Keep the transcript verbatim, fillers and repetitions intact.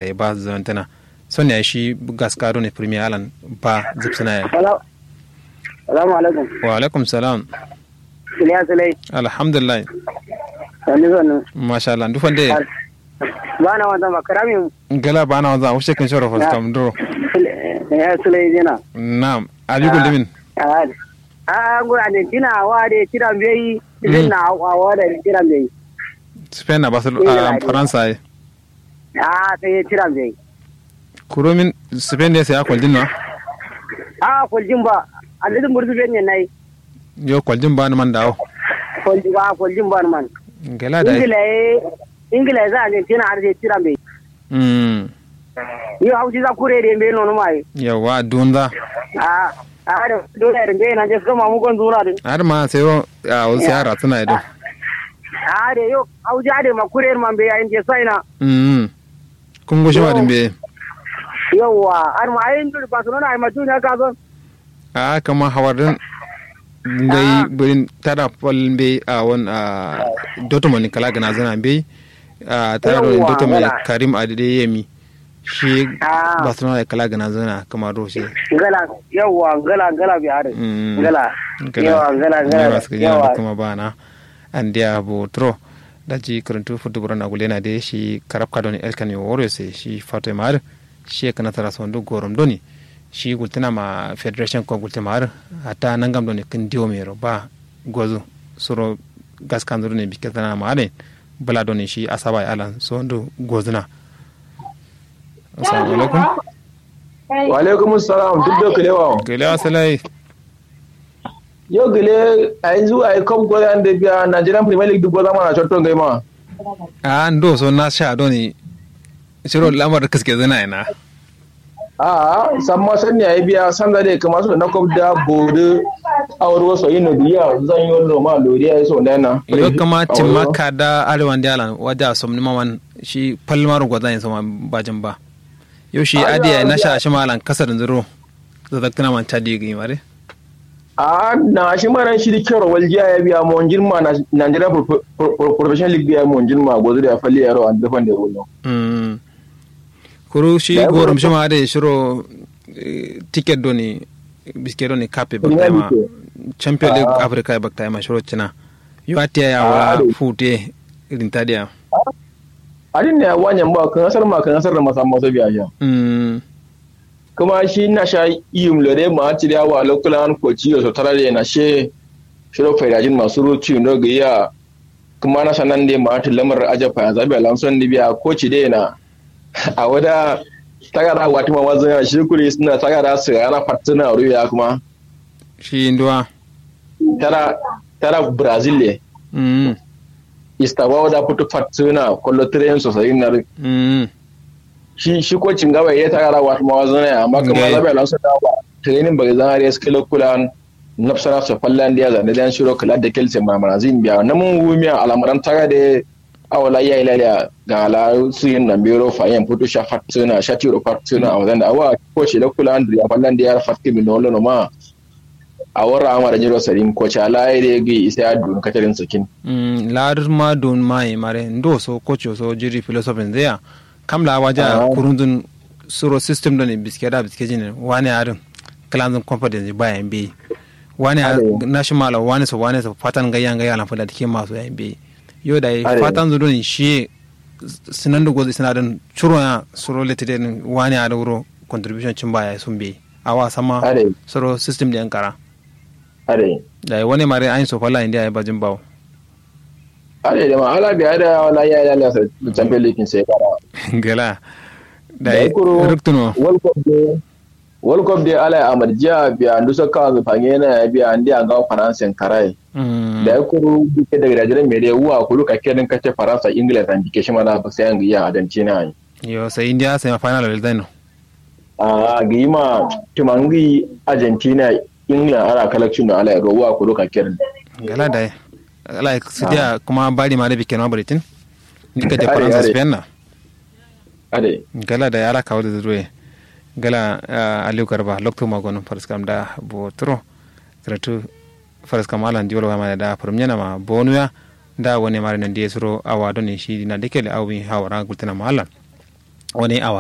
Yayi ba zǝzǝnantǝna. Son yayi shi gaska done premier alan ba zǝbsǝna yayi. Salamu alaikum. Wa alaikum salam. Siliya silai. Alhamdulillah. Sannu sannu. Masha Allah ndu fande. Bana wanzan ba karami. Ngala bana wanzan ushe kin shoro fas kam duro. Ya silai jina. Na'am. Abi gullumin. A a ngu argentina wa de tiran bai. Spain na wa de tiran bai. Spain na barcelona faransa. A sai ye tiran bai. Kurumin spain ne sai ya kwaljin na. A kwaljin ba. Alidin burzu bai ne nai. Yo kwaljin ba ni man dawo. Kwaljin ba kwaljin ba ni man. Ngala da. Ingila ye. Ingila ye za argentina har sai tiran bai. Mm. Yo hauji za kure de bai nono mai. Yawa dunza. A a da dole da bai na je so mamu gon zura din. Har ma sai yo a wasu yara suna ido. A da yo hauji ade ma kure ma bai ayin je sai na. Mm. Kun gushi ma din be. Yawwa har ma ayin duri barcelona ai ma duniya ka zo. A kama hawar din. Ngai birin tada fal be a won a dotomo ni kala gana zana be. A tada do dotomo karim adede yemi. Shi barcelona da kala gana zana kama do shi. Ngala yawwa ngala ngala bi har. Ngala. Yawa ngala ngala yawa kuma bana. Andiya bo tro. Daji karantu futu burana gulena de shi karab kadoni elkan yo woro se shi fato ma har. Shi ye kǝna tara sondu gorom doni. Shi gultǝna ma federation ko gultǝ ma har. Hatta nangam doni kǝn diwo mero ba gozu. Suro gaskanzu doni bikke tana ma har. Bula doni shi asaba ya alan sondu gozuna. Assalamu alaikum. Wa alaikum salam duk da kalewa. Kalewa salai. Yo gile a yanzu a yi kop goza da biya nigerian premier league duk goza mana cotto ngai ma. A ndo so na sha doni. Shiro lamar da kaske zana yana. A samma sanni a yi biya sanza da kama so na kop da bodu. A wuri wasu yi no biya zan yi wallo ma loriya ya so da yana. Yo kama cimma ka da arewan da yalan wajen a somni maman shi palmar goza yin sama bajin ba. Yo shi adiya na sha shi malan kasar zuro. Zazzaktuna man cadi gi mare. A na shi maran shi dikkero waljiya ya biya monjin ma nigeria professional league biya monjin ma gozu da ya falli yaro an dafan da wullo. Kuru shi gorum shi ma da shiro ticket doni biske doni kape baktaima champion league africa baktaima shiro cina. Yo atiya ya wala fute. Rinta da ya. Adin ne ya wanyan ba kan asar ma kan asar da masa masa biya ya. Kuma shi na sha iyum lore ma ciri awa lokulan koci yo sotara de na she. Shiro faidajin masu ruci no ga iya. Kuma na sanan de ma ta lamar aja fa zabi alamson ni biya koci de na. A wada tagara wati ma wazin shi kuri suna tagara su yana fatina ruya kuma. Shi induwa. Tara tara brazil le. Istawa wada putu fatina kollo train sosai na. Shi shi ko cingawa ya tagara wati ma wazin ya amma kuma zabi alamson da ba training ba zan har ya skilo kulan. Nafsara so fallandiya zande dan shiro kala da kelse mamara zin biya na mun wumiya alamaran taga de. Awala ya ilaliya ga ala su yin nan bero fa yan putu sha fatsuna sha tiro fatsuna a wadan da awa ko shi da kula andu ya fallandiya fakke min no ma. A wara amara jiro sarin ko cha la ya de gi isa ya dun katarin sakin. Lar ma dun ma yi mare ndo so ko cho so jiri philosophy ndeya. Kam la waja kurunzun suro system doni biske da biske jini wani adin. Klanzun confidence ba yan bi wani national wani so wani so fatan gayya gayya lan fada dike maso yan bi. Yo da fatan zu doni shi sinan da gozi sina don churo ya suro lete den wani adin wuro contribution cin ba ya sun bi. Awa sama suro system da yan kara. Are. Da wani mare ayin so fala india ya bajin bawo. Are da ma ala biya da wala ya ya la champion league sai kara. Gala. Da ruktuno. World cup de ala ya amarjiya biya ndu so kawan zu fanye na ya biya andi anga faransa karai. Da ya kuru duke da gidajen mai dai wa kuru ka kedin kace faransa ingila zan dike shi ma da ba sai an giya argentina. Yo sai india sai ma final wal zaino. A gi ma tumangi argentina. England ala kalakcin no ala ya rowa kuru ka kedin. Gala dai. Ala sidiya kuma bari ma da bikin ma baritin. Dika da faransa spain na. Gala dai ala kawo da zuwe. Gala aliyu garba lokto magon faraskam da botro. Karatu faraskam ala ndiwal wa ma da farum yana ma bonuya. Da wani mare nan da ya suro awa don shi na dike da awi hawara gultana ma ala. Wani awa